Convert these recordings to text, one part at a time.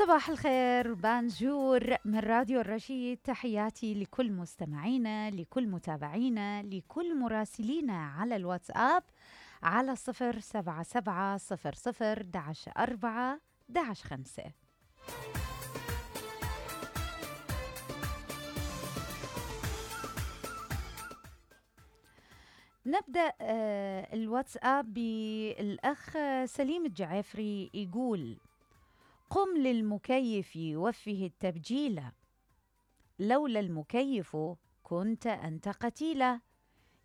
صباح الخير بانجور من راديو الرشيد. تحياتي لكل مستمعينا، لكل متابعينا، لكل مراسلينا على الواتساب على 07700-4-11-5. نبدأ الواتساب بالأخ سليم الجعفري يقول: قم للمكيف يوفه التبجيلة، لولا المكيف كنت أنت قتيلة،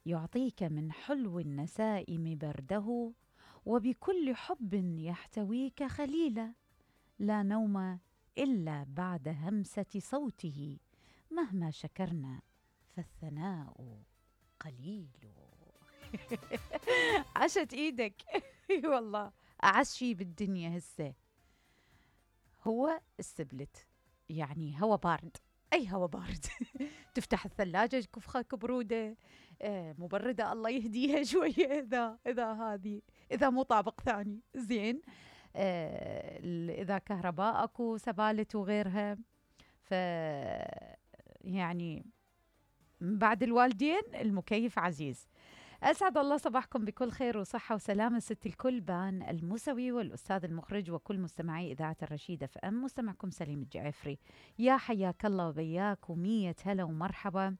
يعطيك من حلو النسائم برده، وبكل حب يحتويك خليلة، لا نوم إلا بعد همسة صوته، مهما شكرنا فالثناء قليل. عشت إيدك. والله أعز شي بالدنيا هسه هو السبلت، يعني هوا بارد، أي هوا بارد. تفتح الثلاجة كفخة كبرودة مبردة، الله يهديها شوية. إذا مو طابق ثاني زين. إذا كهرباء أكو سبالت وغيرها، يعني بعد الوالدين المكيف عزيز. أسعد الله صباحكم بكل خير وصحة وسلامة ست الكل، بان الموسوي والأستاذ المخرج وكل مستمعي إذاعة الرشيد اف ام. مستمعكم سليم الجعفري، يا حياك الله وبياك ومية هلا ومرحبا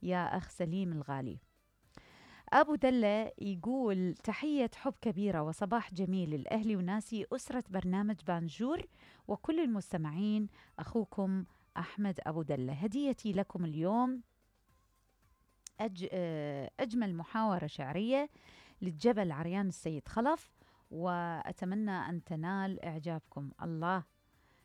يا أخ سليم الغالي. أبو دلة يقول: تحية حب كبيرة وصباح جميل لأهلي وناسي أسرة برنامج بانجور وكل المستمعين، أخوكم أحمد أبو دلة. هديتي لكم اليوم أجمل محاورة شعرية للجبل عريان السيد خلف، وأتمنى أن تنال إعجابكم. الله